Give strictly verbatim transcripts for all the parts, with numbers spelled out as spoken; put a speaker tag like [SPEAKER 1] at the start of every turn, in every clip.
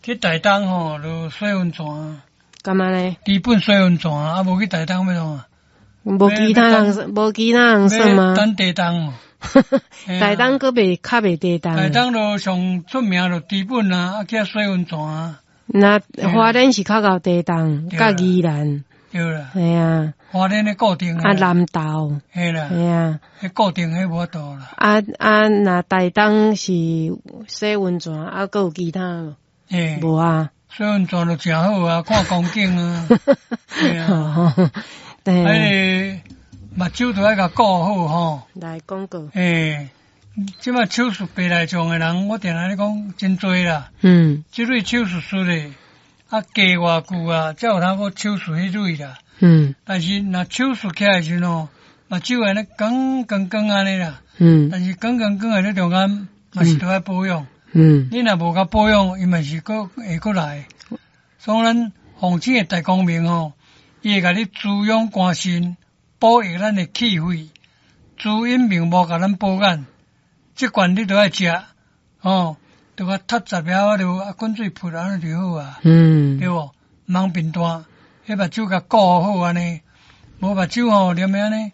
[SPEAKER 1] 去台東吼，就洗溫泉。
[SPEAKER 2] 幹嘛呢？
[SPEAKER 1] 知本洗溫泉啊，無去台東欲創啊？
[SPEAKER 2] 無其他人，無其他人耍嗎？
[SPEAKER 1] 等地動。
[SPEAKER 2] 台東閣袂較袂地動。
[SPEAKER 1] 台東就上出名就知本啊，啊去遐洗溫泉啊。
[SPEAKER 2] 那花蓮是較𠢕地動，佮宜蘭。
[SPEAKER 1] 對啦。
[SPEAKER 2] 係啊。
[SPEAKER 1] 花蓮的固定。
[SPEAKER 2] 啊，南投。
[SPEAKER 1] 係啦。
[SPEAKER 2] 係啊。
[SPEAKER 1] 彼固定彼無法度啦。
[SPEAKER 2] 啊啊，若台東是洗溫泉，啊，閣有其他無？
[SPEAKER 1] 欸。
[SPEAKER 2] 無啊。
[SPEAKER 1] 洗溫泉就誠好啊，看風景啊。對啊。
[SPEAKER 2] 對。
[SPEAKER 1] 彼個目睭都愛共顧好吼。
[SPEAKER 2] 來講過。
[SPEAKER 1] 欸，這擺手術白內障的人，我定定咧講真濟啦。
[SPEAKER 2] 嗯。
[SPEAKER 1] 這類手術術的，啊，加偌久啊，才有通閣手術彼類啦。
[SPEAKER 2] 嗯。
[SPEAKER 1] 但是若手術起來的時陣吼，目睭按呢光光光按呢啦。
[SPEAKER 2] 嗯。
[SPEAKER 1] 但是光光光的咧中間，嘛是著愛保養。
[SPEAKER 2] 嗯。
[SPEAKER 1] 你若無共保養，伊嘛是閣會閣來。所以咱奉請的大光明吼，伊會共你滋養肝腎，保育咱的氣血，滋陰明目，共咱保眼。這罐你著愛食，吼，著共踢十粒就啊，滾水潑按呢就好啊。
[SPEAKER 2] 嗯。
[SPEAKER 1] 對無？毋通貧惰，彼目睭共顧好按呢，無目睭吼連按呢，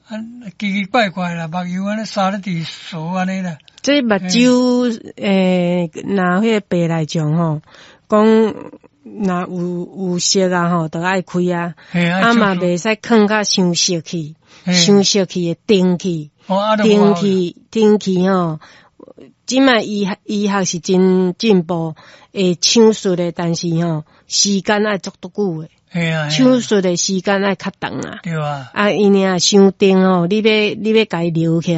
[SPEAKER 1] 啊奇奇怪怪啦，目油按呢沙咧直趖按呢啦。
[SPEAKER 2] 這目睭欸，若彼個白內障吼，講若有有色啊吼，就愛開啊，啊嘛袂使囥甲傷熟去，傷熟去會定去，定去定去吼。這擺醫學醫學是真進步，會手術的，但是吼時間愛足足久的。手術的時間愛較長啊。
[SPEAKER 1] 對啊。
[SPEAKER 2] 啊，伊爾傷長吼，你欲你欲共伊留起來。